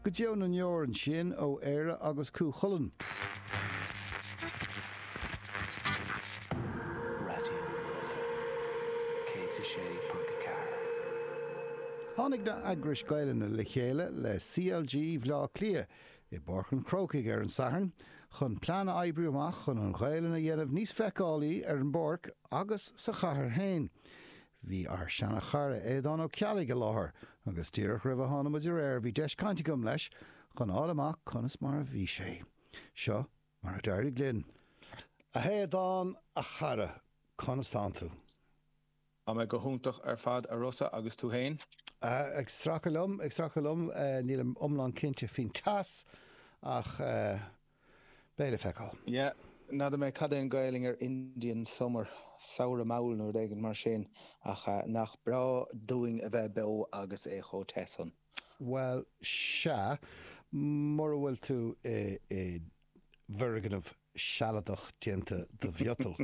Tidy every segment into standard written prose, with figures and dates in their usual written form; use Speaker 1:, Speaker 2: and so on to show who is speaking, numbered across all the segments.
Speaker 1: Go deo na ndeor ansin ó Éire agus Cú Chulainn.
Speaker 2: Raidió na Life 106.4.
Speaker 1: Tháinig na heagrais Gaelainne le chéile le CLG Bhleá Cliath i bPáirc an Chrócaigh ar an Satharn chun plean a oibriú amach chun an Ghaelainn a dhéanamh níos feiceálaí ar an bpáirc agus sa chathair féin. Bhí ár seana-chara Aodhán Ó Ceallaigh i láthair agus díreach roimh a tháinig muid ar aer bhí deis cainte agam leis chun fháil amach conas mar a bhí sé. Seo mar a d'éirigh linn. A Aodháin, a chara, conas tánn tú?
Speaker 3: Tá mé go hiontach ar fad a Rossa agus tú fhéin?
Speaker 1: Ag stracadh liom, ag stracadh liom. Nílim iomlán cinnte faoin teas ach beidh le feiceáil.
Speaker 3: Yeah, n'fheadar mé cad é an Gaelainn ar Indian Summer, samhradh mall nó rud éigin mar sin, ach nach breá dúinn a bheith beo agus é chomh te san.
Speaker 1: Bhuel, sea, mura bhfuil tú i bhfoirgneamh sealadach déanta de mhiotal.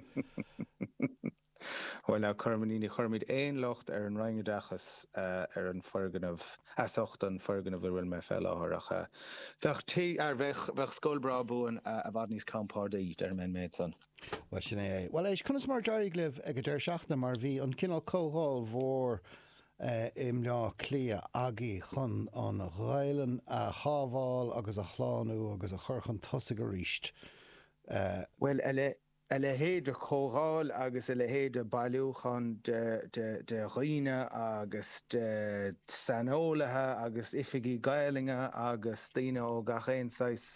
Speaker 3: Bhuel now, cuirimid, ní chuirimid aon locht ar an Roinn Oideachais ar an foirgneamh, as ucht an foirgneamh ina bhfuil mé fé láthair ach bheadh tigh, ar bheadh, bheadh scoil breá buan i bhfad níos compordaí, déarfaidh mé an méid san.
Speaker 1: Bhuel, sin é é. Bhuel, éist, conas mar a d'éirigh libh ag an deireadh seachtaine mar bhí an cineál comhdháil mhór i mBleá Cliath agaibh chun an Ghaelainn a shábháil agus a shlánú agus a chur chun tosaigh arís.
Speaker 3: Bhuel, a A leithéid de chomhdháil agus a leithéid de bailiúchán de dhaoine agus de saineolaithe agus oifigigh Gaelainne agus daoine ó gach aon saghas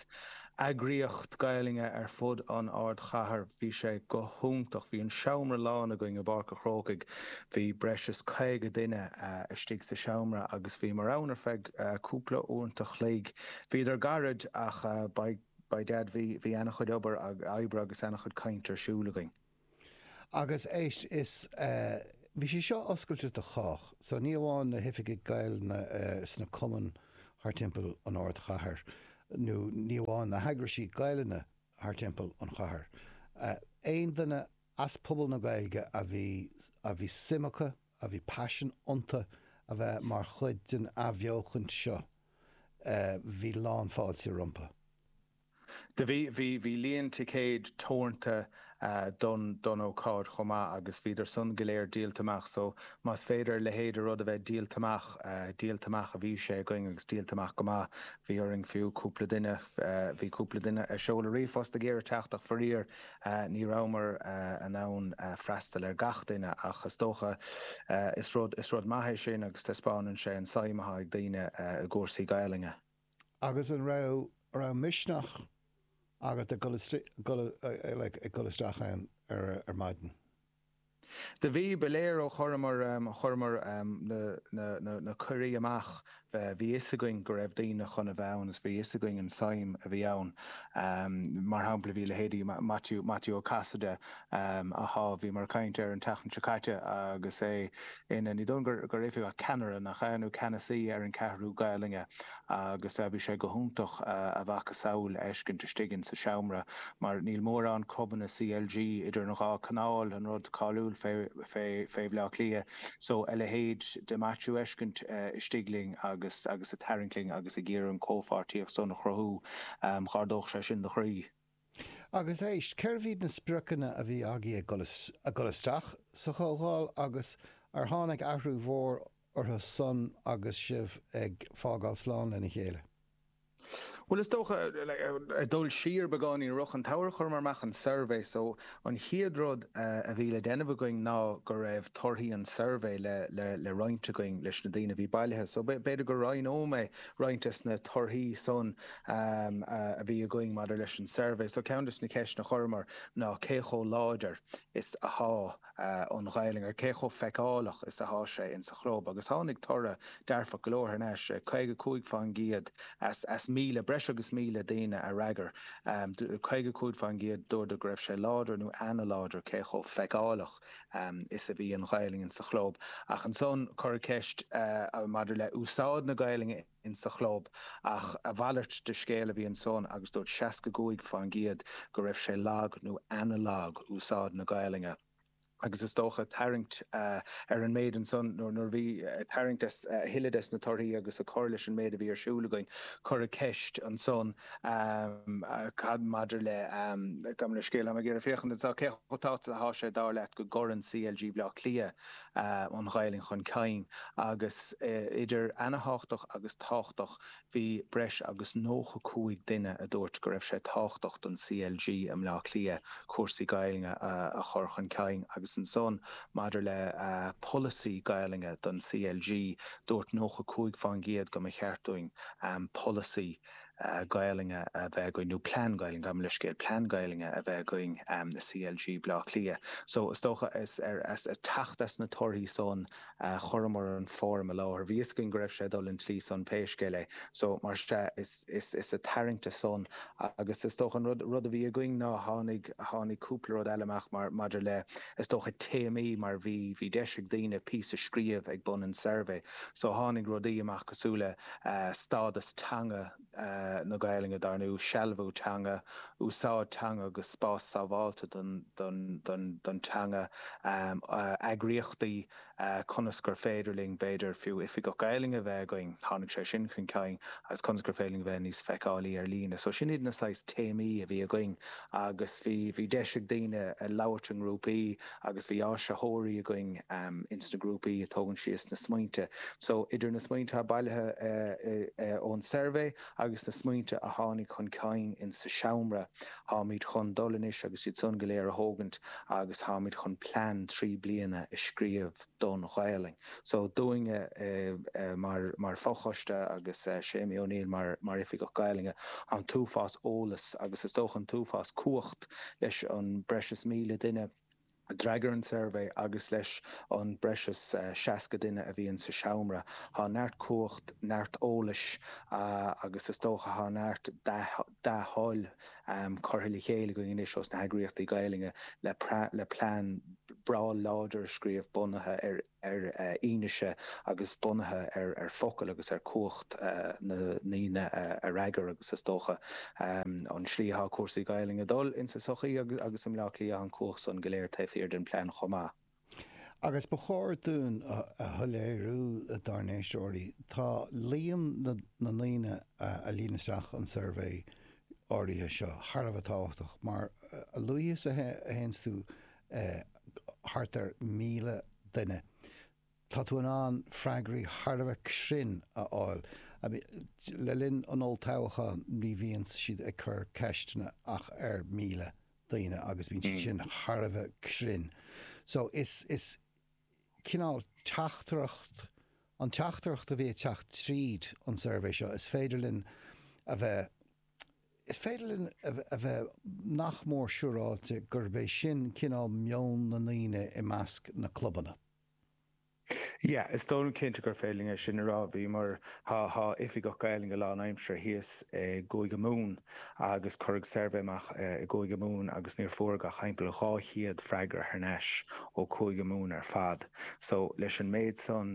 Speaker 3: eagraíocht Gaelainne ar fud an ardchathair. Bhí sé go hiontach. Bhí an seomra lán againn i bPáirc a' Chrócaigh. Bhí breis is 50 duine istigh sa seomra agus bhíomar ann ar feadh cúpla uaireanta chloig. Bhíodar gairid ach beidh By dad, bhí, bhí ana-chuid obair, oibre agus ana-chuid cainte ar siúl againn.
Speaker 1: Agus éist, is, eh, bhí sé seo oscailte do chách, so ní amháin na hoifigigh Gaelainne sna cumainn thar timpeall an ardchathair, nó ní amháin na heagraisí Gaelainne thar timpeall an chathair, eh, aon duine as pobal na Gaeilge a bhí, a bhí suim acu, a bhí paisean iontu a bheith mar chuid den athbheochaint seo, bhí lán fáilte rompu.
Speaker 3: Do bhí, bhí, bhí líon ticéid teoranta don, don ócáid chomh maith agus bhíodar san go léir díolta amach so más féidir a leithéid de rud a bheith díolta amach, díolta amach a bhí sé againn agus díolta amach go maith. Bhí orainn fiú cúpla duine, bhí cúpla duine ag seoladh ríomhphost ag iarraidh teacht ach faraor Ní rabhamar in ann freastal ar gach duine ach is dócha is rud is rud maith é sin agus taispeánann sé an suim atá ag daoine i gcúrsaí Gaelainne.
Speaker 1: Agus an raibh raibh misneach agat ag dul like ag dul isteach ann ar ar maidin?
Speaker 3: Do bhí, ba léir ó chuireamar, chuireamar na, na, na, na cuirí amach, bhí fhios againn go raibh daoine chun a bheith ann agus bhí fhios againn an suim a bhí ann. Mar shampla, bhí leithéidí Maitiú, Maitiú Ó Casaide, athá, bhíomar ag caint air an tseachtain seo caite agus é ina, ní dóigh liom gur, gur oifigeach, ceannaire, nach ea, nó ceannasaí ar an Cheathrú Gaelainne. agus bhí sé go hiontach a mhacasamhail a fheiscint istigh in sa seomra mar níl mórán clubanna CLG idir an dhá canáil, an rud cáiliúil fé fé Bhleá Cliath. So a leithéid de Maitiú a fheiscint istigh linn agus agus ag tarraingt linn agus ag iarraidh an comhpháirtíocht san a chruthú, dh'ardódh sé sin do chroí.
Speaker 1: Agus éist, cérbh iad na spriocanna a bhí agaibh ag ag dul isteach sa chomhdháil agus ar tháinig athrú mhór orthu san agus sibh ag fágáil slán lena chéile?
Speaker 3: Bhuel, is dócha, ag dul siar beagáinín i rith an tsamhraidh chuireamar amach an suirbhé so an chéad rud a bhí le déanamh againn ná go raibh torthaí an tsuirbhé le le roinnt againn leis na daoine a bhí bailithe. So b'fhéidir go roinnfidh mé roinnt des na torthaí san a bhí againn maidir leis an suirbhé. So ceann des na ceisteanna a chuireamar ná cé chomh láidir is athá an Ghaelainn, ar cé chomh feiceálach is athá sé insa chlub agus tháinig toradh dearfach go leor thar n-ais, 55% as as 1,000, breis agus 1,000 daoine a fhreagair, 55% dúradar go raibh sé láidir nó ana-láidir cé chomh feiceálach is a bhí an Ghaelainn insa chlub. Ach ansan cuireadh ceist maidir le úsáid na Gaelainne insa chlub ach a mhalairt de scéal a bhí ansan agus dúirt 65% go raibh sé lag nó ana-lag úsáid na Gaelainne. Agus is dócha, tarraingt ar an méid ansan, nuair a bhí, ag tarraingt a thuilleadh des na torthaí agus ag cur leis an méid a bhí ar siúl againn, cuireadh ceist ansan, cad maidir le, gabh mo leithscéal, táim ag iarraidh féachaint anseo, cé chomh tábhachtach atá sé dar leat go gcuireann CLG Bhaile Átha Cliath an Ghaelainn chun cinn? Agus idir ana-thábhachtach agus tábhachtach, Bhí breis agus 95 duine a dúirt go raibh sé tábhachtach don CLG i mBleá Cliath cúrsaí Gaelainne a chur chun cinn agus ansan maidir le polasaí Gaelainne don CLG dúirt 95% go mba cheart dúinn polasaí Gaelainne a bheith againn nó plean Gaelainne, gabh mo leithscéal, plean Gaelainne a bheith againn i CLG Bleá Cliath. So is dócha is ar teacht as na torthaí san Chuireamar an foirm i láthair. Bhí fhios againn go raibh sé ag dul an tslí san pé scéal é. So, mar sea, is, is, is ag tarraingt as san agus is dócha an rud, rud a bhí againn ná tháinig, tháinig cúpla rud eile amach mar, maidir le, is dócha téamaí mar bhí, bhí deis ag daoine píosa scríobh ag bun an suirbhé. So tháinig rudaí amach cosúil le stádas teanga na Gaelainne dar ndóigh, sealbhú teanga, úsáid teanga agus spás sábháilte don teanga, eagraíochtaí, conas gur féidir linn, b'fhéidir, fiú oifigeach Gaelainne a bheith againn, tháinig sé sin chun cinn, agus conas gur féidir linn bheith níos feiceálaí ar líne. So sin iad na saghas téamaí a bhí againn agus bhí, bhí deis ag daoine labhairt i ngrúpaí agus bhí áisitheoirí againn ins na grúpaí ag tógaint síos na smaointe. So idir na smaointe atá bailithe ón suirbhé agus na smaointe a tháinig chun cinn in sa seomra, táimid chun dul anois agus iad san go léir a thógaint agus táimid chun plean 3 bliana a scríobh don Ghaelainn. So dúinne mar mar fochoiste agus Séimí O'Neill mar mar Oifigeach Gaelainne, an t-uafás eolas agus is dócha an t-uafás cumhacht leis an breis is 1,000 duine a d'fhreagair an suirbhé agus leis an breis is 60 duine a bhí insa seomra. Tá neart cumhacht, neart eolais agus is dócha tá neart dea-thoil curtha le chéile againn anois ós na heagraíochtaí Gaelainne le plean breá láidir a scríobh bunaithe ar ar fhianaise agus bunaithe ar focail agus ar chumhacht na ndaoine a fhreagair agus is dócha an slí atá cúrsaí Gaelainne ag dul insa sochaí agus i mBleá Cliath an cumhacht san go léir taobh thiar den plean chomh maith.
Speaker 1: Agus ba chóir dúinn a shoiléiriú dár n-éisteoirí, tá líon na ndaoine a líon isteach an suirbhé áirithe seo thar a bheith tábhachtach mar a luaithe is a théanns tú thart ar 1,000 duine. Tá tú in ann freagraí thar a bheith cruinn a fháil. Le linn an olltoghcháin ní bhíonn siad ag cur ceisteanna ach ar 1,000 daoine agus bíonn siad sin thar a bheith cruinn. So is, is cineál teachtaireacht, an teachtaireacht a bhí ag teacht tríd an suirbhé seo, is féidir linn a bheith, Is féidir linn a bheith nach mór siúráilte gurb é sin cineál meon na ndaoine i measc na clubanna.
Speaker 3: Yeah, is dóigh liom cinnte gur féidir linn é sin a rá. Bhíomar, tá, tá oifigeach Gaelainne lánaimseartha thíos i gCúige Mumhan agus cuireadh suirbhé amach i gCúige Mumhan agus níor fuaireadh ach thimpeall 200 freagra thar n-ais ó Chúige Mumhan ar fad. So, leis an méid san,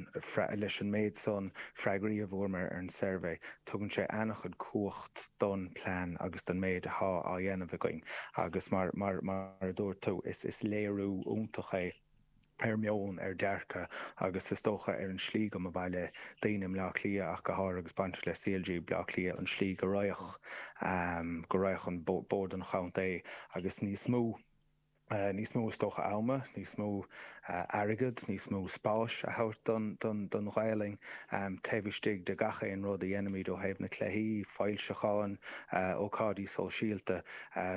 Speaker 3: leis an méid san freagraí a bhfuaireamar ar an suirbhé, Tugann sé an-chuid cumhacht don plean agus don méid athá á dhéanamh againn agus mar mar mar a dúirt tú is is léiriú iontach é ar meon, ar dearcadh agus is dócha ar an slí go mba mhaith le daoine i mBleá Cliath ach go háirithe agus bainteach le CLG Bleá Cliath an slí go raghadh go raghadh an Bord an Chontae agus níos mó. níos mó is dócha ama, níos mó airgead, níos mó spáis a thabhairt don Ghaelainn taobh istigh de gach aon rud a dhéanaimid ó thaobh na cluichí, foilseacháin, ócáidí sóisialta,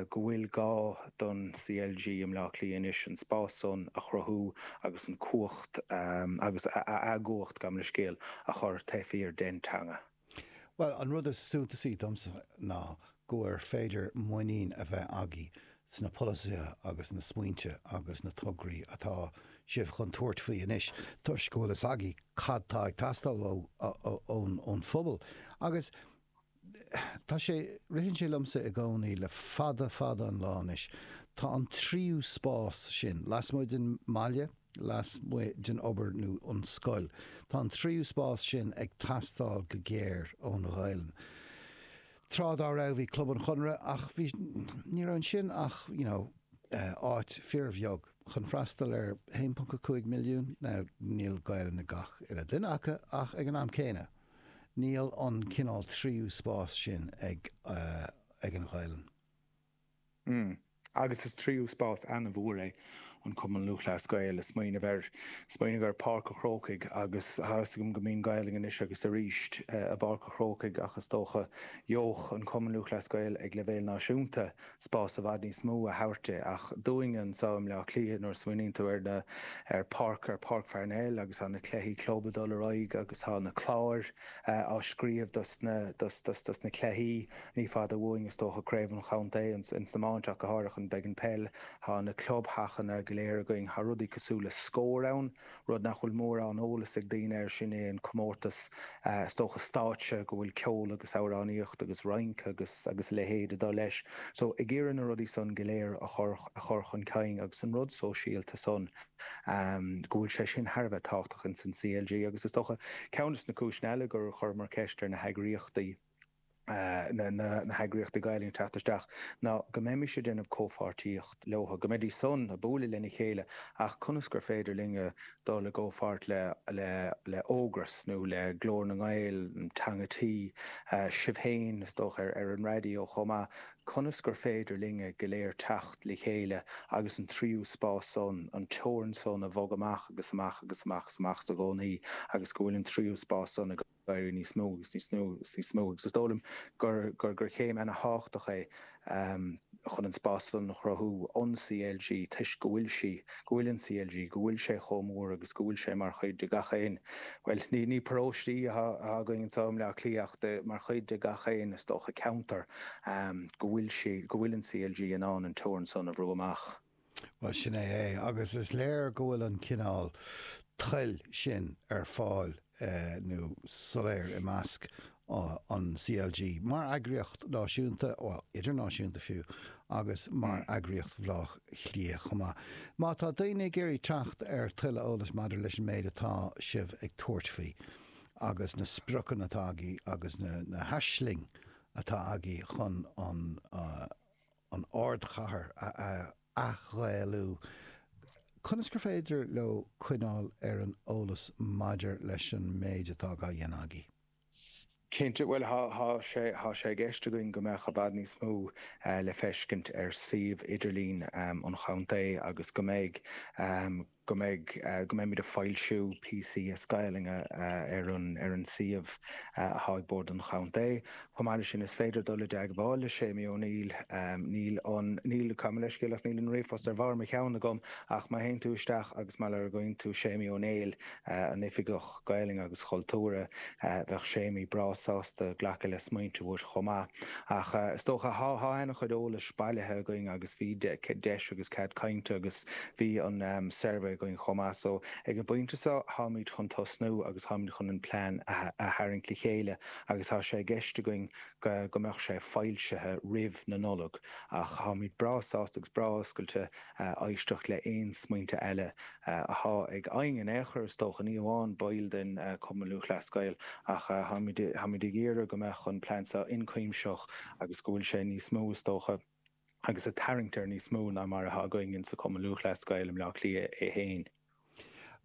Speaker 3: go bhfuil gá don CLG i mBleá Cliath anois an spás san a chruthú agus an cumhacht agus a gcumhacht, gabh mo leithscéal, a chur taobh thiar den teanga.
Speaker 1: Bhuel, an rud is suntasaí domsa ná go ar féidir muinín a bheith agaibh sna polasaithe agus na smaointe agus na tograí atá sibh chun tabhairt faoi anois toisc go bhfuil fhios agaibh cad tá ag teastáil ón phobal. Agus tá sé, ritheann sé liomsa i gcónaí le fada fada an lá anois, tá an tríú spás sin, lasmuigh den mbaile, lasmuigh den obair nó an scoil. Tá an tríú spás sin ag teastáil go géar ón Ghaelainn. Tráth dá raibh bhí Club an Chonartha ach bhí, ní raibh ansin ach, you know, áit fíorbheag. chun freastal ar 1.5 milliún, now níl Gaelainn ag gach uile duine acu ach ag an am céanna, níl an cineál tríú spás sin ag ag an Ghaelainn.
Speaker 3: Mm. Agus is tríú spás ana-mhór é an Cumann Lúthchleas Gael, ag smaoineamh ar, smaoineamh ar Páirc a' Chrócaigh agus tá a fhios agam go mbíonn Gaelainn anois agus arís i bPáirc a' Chrócaigh ach is dócha gheobhadh an Cumann Lúthchleas Gael ag leibhéal náisiúnta spás i bhfad níos mó a thabhairt di ach dúinne anseo i mBleá Cliath nuair a smaoiníonn tú ar na, ar Páirc, ar Páirc Pharnell agus tá na cluichí club ag dul ar aghaidh agus tá na cláir á scríobh dos na, dos, dos, dos na cluichí. Ní fada uainn is dócha Craobh an Chontae ins an iomáint ach go háirithe an beidh an peil. Tá na clubtheachanna go léir againn. Tá rudaí cosúil le Scór ann, rud nach bhfuil mórán eolas ag daoine air, sin é an comórtas is dócha stáitse go bhfuil ceol agus amhránaíocht agus rince agus agus a leithéid ag dul leis. So ag iarraidh na rudaí san go léir a chur a chur chun cinn agus an rud sóisialta san go bhfuil sé sin thar a bheith tábhachtach ins an CLG agus is dócha ceann des na cúiseanna eile gur chuireamar ceist ar na heagraíochtaí na heagraíochtaí Gaelainne teacht isteach ná go mbeimis ag déanamh comhpháirtíocht leo, go mbeidís san ag bualadh lena chéile ach conas gur féidir linne dul i gcomhpháirt le le Ógras nó le Glór na nGael, Teanga Tí, sibh féin is dócha ar an raidió chomh maith, conas gur féidir linne go léir teacht le chéile agus an tríú spás san, an teorainn san a bhogadh amach agus amach agus amach agus amach i gcónaí agus go bhfuil an tríú spás san ag éirí níos mó agus níos mó agus níos mó agus is dóigh liom gur gur gur chéim ana-thábhachtach é chun an spás san a chruthú an CLG toisc go bhfuil sí, go bhfuil an CLG, go bhfuil sé chomh mór agus go bhfuil sé mar chuid de gach aon, bhuel ní ní paróistí atá againn anseo i mBleá Cliath ach de mar chuid de gach aon is dócha ceantar go bhfuil sí, go bhfuil an CLG in ann an teorainn san a bhrú amach.
Speaker 1: Bhuel, sin é é, agus is léir go bhfuil an cineál toil sin ar fáil nó soiléir i measc an CLG, mar eagraíocht náisiúnta, bhuel, idirnáisiúnta fiú, agus mar eagraíocht Bhaile Átha Cliath chomh maith. Má tá daoine ag iarraidh teacht ar tuilleadh eolais maidir leis an méid atá sibh ag tabhairt faoi, agus na spriocanna atá agaibh agus na haisling atá agaibh chun an an ardchathair a athghaelú, conas gur féidir leo coinneáil ar an eolas maidir leis an méid atá á dhéanamh agaibh?
Speaker 3: Cinnte, bhuel, tá sé, tá sé i gceist againn go mbeadh i bhfad níos mó le feiscint ar suíomh idirlín an chontae agus go mbeidh, go mbeidh, go mbeimid ag foilsiú píosaí as Gaelainn ar an, ar an suíomh atá ag Bord an Chontae. Chomh maith leis sin, is féidir dul i dteagmháil le Séimí Ó Néill. Níl an, níl, gabh mo leithscéal ach níl an ríomhphost ar bharr mo cheann agam ach má théann tú isteach agus má lorgaíonn tú Séimí Ó Néill, an Oifigeach Gaelainne agus Chultúrtha, bheadh Séimí breá sásta glacadh le smaointe uait chomh maith. Ach is dócha, thá, thá ana-chuid eolais bailithe againn agus bhí deis agus cead cainte agus bhí an suirbhé againn chomh maith. So ag an bpointe seo tháimid chun tosnú agus tháimid chun an plean a tharraingt le chéile agus tá sé i gceist againn go go mbeadh sé foilsithe roimh na Nollag. Ach tháimid breá sásta agus breá oscailte éisteacht le aon smaointe eile athá ag éinne in aon chor is dócha, ní amháin baill den Cumann Lúthchleas Gael ach tháimid tháimid ag iarraidh go mbeadh an plean seo ionchuimsitheach agus go bhfuil sé níos mó is dócha agus ag tarraingt ar níos mó ná mar atá againn insa Cumann Lúthchleas Gael i mBleá Cliath é féin.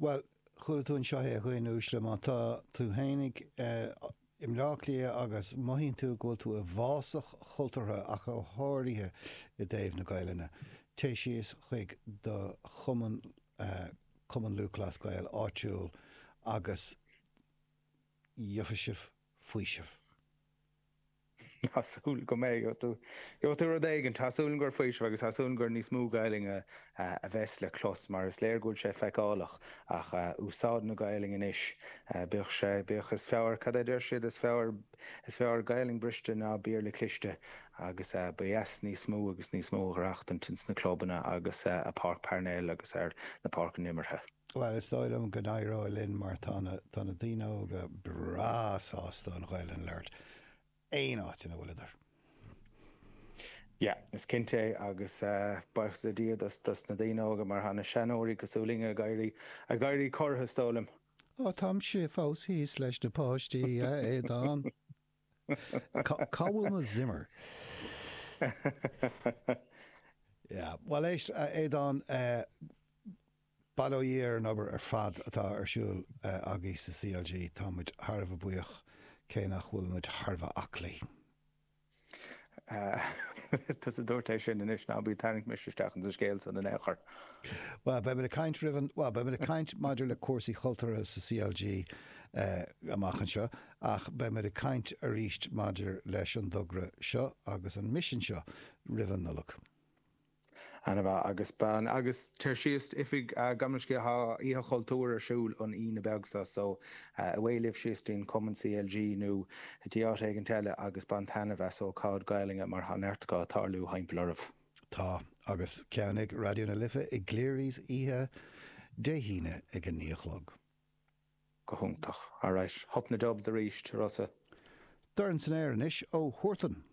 Speaker 1: Bhuel, chuala tú anseo é a dhaoine uaisle, má tá tú fhéinig i mBleá Cliath agus mothaíonn tú go bhfuil tú i bhfásach chultúrtha ach go háirithe i dtaobh na Gaelainne, téigh síos chuig do chumann, Cumann Lúthchleas Gael áitiúil agus gheobhaidh sibh faoiseamh.
Speaker 3: Tá súil go mbeidh. Gheobhaidh tú rud éigin. Tá súil gur faoiseamh agus tá súil gur níos mó Gaelainne a bheas le clos mar is léir go bhfuil sé feiceálach ach úsáid na Gaelainne anois, bíodh sé, bíodh, is fearr, cad é deir siad, is fearr, is fearr Gaelainn briste ná Béarla cliste agus ba dheas níos mó agus níos mó a dh'aireachtaint ins na clubanna agus i Páirc Parnell agus ar na páirceanna imeartha.
Speaker 1: Bhuel, is dóigh liom go n-éireoidh linn mar tá na, tá na daoine óga breá sásta an Ghaelainn a labhairt aon áit ina bhfuileadar.
Speaker 3: Yeah, is cinnte é agus buíochas le Dia dos, dos na daoine óga mar tá na seanóirí cosúil linne ag éirí, ag éirí corraithe is dóigh liom.
Speaker 1: Ó, táimse fós thíos leis na páistí, a Aodáin. Cá bhfuil mo Zimmer? Yeah, bhuel éist, a Aodáin, eh. Bail ó Dhia ar an obair ar fad atá ar siúl agaibh sa CLG. Tá muid thar a bheith buíoch, cé nach bhfuil muid thar a bheith aclaí.
Speaker 3: Tusa a dúirt é sin anois, ná bí ag tarraingt mise isteach insa scéal san in aon chor.
Speaker 1: Bhuel, beidh muid ag caint roimh an, bhuel, beidh muid ag caint maidir le cúrsaí chultúrtha sa CLG amach anseo, ach beidh muid ag caint arís maidir leis an dtogra seo agus an misean seo roimh an Nollaig.
Speaker 3: Ana-mhaith agus bean agus tar síos oifig gabh mo leithscéal tá Oíche Chultúir ar siúl an Aoine beag seo so away libh síos dtí'n Cumann CLG nó dtí áit éigint eile agus bain taitneamh as ócáid Gaelainne mar tá neart acu ag tarlú thimpeall oraibh.
Speaker 1: Tá, agus ceann ag Raidió na Life i gCleary's oíche Dé hAoine ag a 9 a chlog.
Speaker 3: Go hiontach. Alright. Hup na Dubs arís, Rossa.
Speaker 1: Dorn san aer anois ó Huartan.